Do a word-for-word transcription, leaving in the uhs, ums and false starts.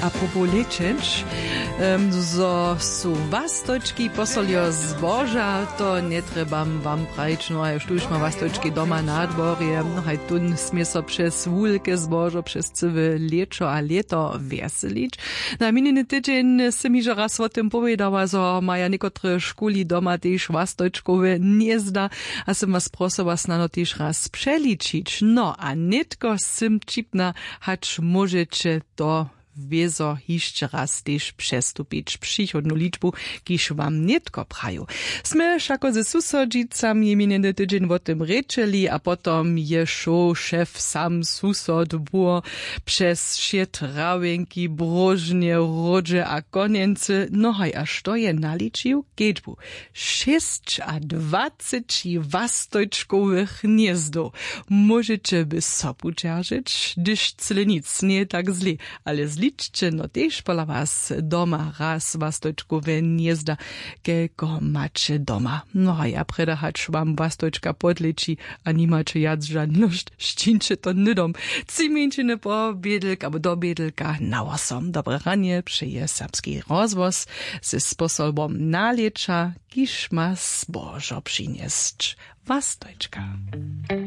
Apropo lěčeć, zo su wastojčki posolijo zboža, to njetrjebam wam prajić. No a štóž ma wastojčki doma na dworje, no haj tón smě so přez wulke zbožo přez cyłe lěćo a lěto wjeselić. Na minjeny tydźeń sym hižo raz wo tym powědała, zo maja někotre škuli doma tež wastojčkowe hnězda, a sym was prosyła snano tež raz přeličić. No a nětko sym ćipna, hač móžeće to wězo hišće raz tež přestupić přichodnu ličbu, kiž wam nětko praju. Smy wšako ze susodźicami minjeny tydźeń wo tym rěčeli a potom je šoł šef sam susod bło přez wšě trawjenki, bróžnje, hródźe a konjency. No haj a što je naličił? Kedźbu šěsćadwaceći wastojčkowych hnězdow. Móžeće by sobu dźeržeć, hdyž cyle nic njeje tak zle, ale zličće no tež pola was doma raz wastojčkowe hnězda, kelko maće doma. No a ja prjeda hač wam wastojčka podleći a nimaće wjac žannosć, šćińće to hnydom tři mjeńšiny po bědelk abo do bědelka na wosom. Dobre ranje přeje serbski rozhłos ze sposobom nalěća, kiž ma zbožo přinjesć. Wastojčka.